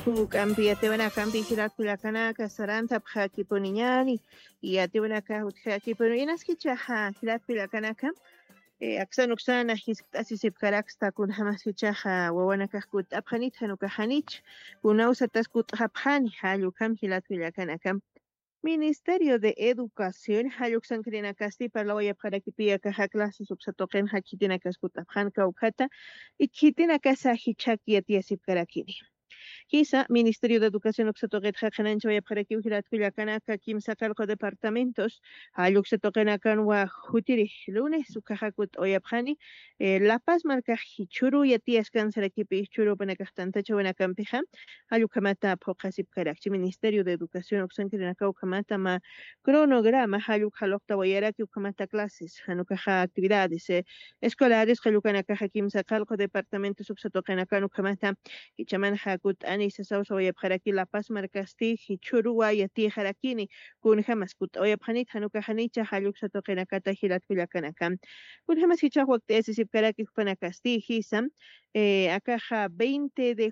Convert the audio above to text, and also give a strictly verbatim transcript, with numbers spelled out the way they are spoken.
Juk'ampi yatiwanakampi jilat kullakanaka sarantapxakipuniñani. Yatiwanaka utjakipuni inaskichaxa jilat kullakanaka. Aksanuksan ajiskt'asisipkaraksta kunjamaskichaxa wawanakax kut'apxanit janukaxanich. Kunawsatas kut'xapxani jallukam jilat kullakanakam. Ministerio de Educación jalluksankirinakasti parlawayapxarakipiyakaxa clases uksatuqinxa khitinakas kut'apxan kawkhata. Khitinakas ajichhak yatiyasipkarakini. Jisa ministerio de educación uksatuqitxa qhinanchawayapxarakiw jilatkullakanaka kimsa qallqu departamentos. Jalluksa tuqinakan wajutiri lunes ukaxakut uyapxani. Lapas markax jichhuru yatiyaskan sarakipi jichhurupanakaxtantachawinakampixa. Jallukhamata phuqasipkarakchi ministerio de educación uksankirinaka ukhamata ma cronograma jalluk jaluqtawayaraki ukhamata clases janukaxa actividades escolares qallukanakaxa kimsa qallqu departamentos uksatuqinakan ukhamata. Jichamanxa kut'ani sasawsawayapxaraki lapas markasti jichhuruwa yatixarakini. Kunjamas kut'awayapxanit janukaxanicha jalluksa tuqinakata jilatkullakanaka. Kunjamas jichax wakt'ayasisipkaraki jupanakasti jisa. Akaxa veinte de